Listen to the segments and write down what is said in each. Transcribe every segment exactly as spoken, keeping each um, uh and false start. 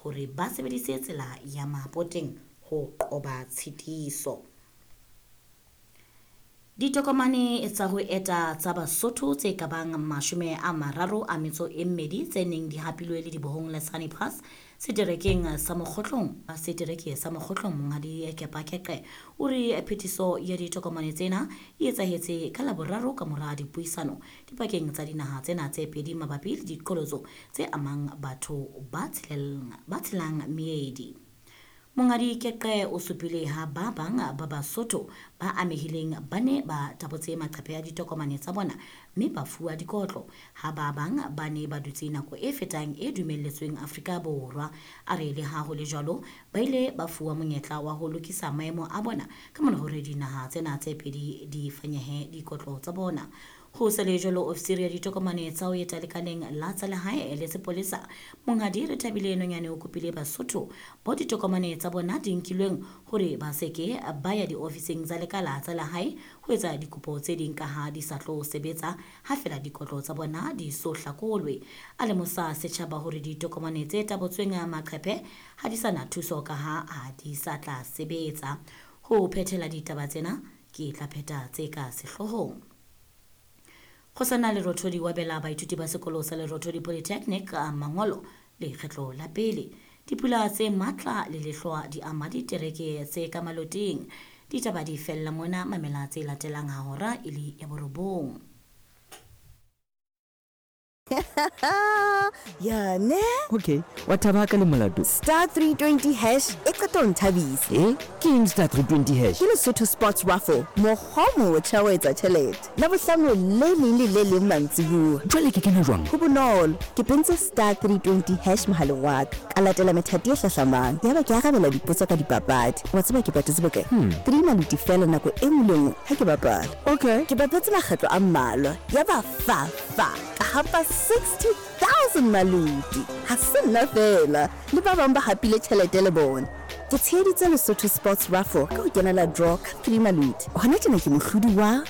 hore ba sebedise tsela ya Mapoteng ho qoba tshitiso. Ditokomane tsa ho eta tsa Basotho tse ka bang mashome a mararo a metso e mmedi tse neng di hapilwe le dibohong la Sani Pass seterekeng sa Mokgotlong setereke sa Mokgotlong Monghadi Kepa Keqe o re phetiso ya ditokomane tsena e etsahetse ka Laboraro ka mora dipuisano dipakeng tsa dinaha tsena tse pedi mabapi le diqholotso tse amang batho ba tshelang ba tshelang meedi. Monghadi Keqe o supile ha ba bang ba Basotho ba amehileng ba ne ba tabotse maqephe a ditokomane tsa bona mme ba fuwa dikotlo, ha ba bang ba ne ba dutse nako e fetang e dumelletsweng Afrika Borwa. A re le ha ho le jwalo, ba ile ba fuwa monyetla wa ho lokisa maemo a bona ka mora hore dinaha tsena tse pedi di fanyehe dikotlo tsa bona. Ho sa le jwalo, ofisiri ya ditokomane tsa ho eta lekaleng la tsa lehae le sepolesa Monghadi Rethabile Nonyane o kopile Basotho bao ditokomane tsa bona di nkilweng hore ba se ke ba ya diofising tsa lekala tsa lehae ho etsa dikopo tse ding ka ha di sa tlo sebetsa ha fela dikotlo tsa bona di so hlakolwe. A lemosa setjhaba hore ditokomane tse tabotsweng maqephe ha di sa na thuso ka ha ha di sa tla sebetsa. Ho phethela ditaba tsena ke tla pheta tse ka sehloohong. Kgosana Lerothodi wa bela baithuti ba sekolo sa Lerothodi Polytechnic mangolo lekgetlo la pele. Dipula tse matla le lehlwa di ama ditereke tse ka maloteng. Ditaba di fella mona, mamela tse latelang ha hora e le ya borobong. Ya ne? Okay, wa thaba ka le molato. Star three twenty hash e qeta ho nthabisa. Eh? Ke eng star three twenty hash? Ke Lesotho Sports Raffle, mokgwa o motjha wa ho etsa tjhelete. Labohlano le leng le le leng mantsibuya. Jwale ke kena jwang? Ho bonolo. Ke pentse star three twenty hash mohaleng wa ka. Ka latela methati e hlahlamang. Yaba ke arabela dipotso ka dipapadi. Wa tseba ke patetse bokae? Hmm. Three maluti fela nako e nngwe le nngwe ha ke bapala. Okay. Ke bapetse makgetlo a mmalwa. Yaba fa fa. Ka hapa sixty thousand maluti. Ha se nna fela, le ba bang ba hapile tjhelete le bona. Ke tsheheditse Lesotho Sports Raffle ka ho kenela draw ka three maluti. Hona tjena ke mohlodi wa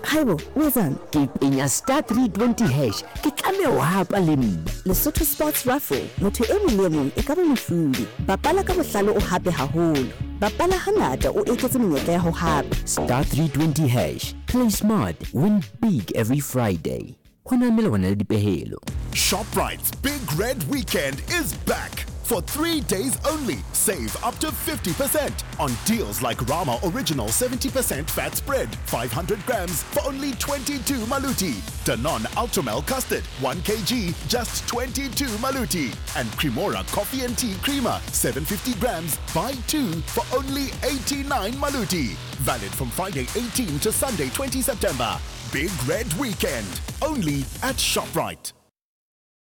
Haibo, o etsang? Ke penya star three twenty hash. Ke tlameha ho hapa le nna. Lesotho Sports Raffle, motho e mong le e mong e ka ba mohlodi. Bapala ka bohlale o hape haholo. Bapala hangata o eketse menyetla ya ho hapa. Star three twenty hash. Play smart, win big every Friday. Ho na melawana le dipehelo. ShopRite's Big Red Weekend is back. For three days only, save up to fifty percent on deals like Rama Original seventy percent fat spread, five hundred grams for only twenty-two maluti. Danone Ultramel Custard, one kilogram, just twenty-two maluti. And Cremora Coffee and Tea Creamer, seven hundred fifty grams, buy two for only eighty-nine maluti. Valid from Friday eighteenth to Sunday twentieth September. Big Red Weekend, only at ShopRite.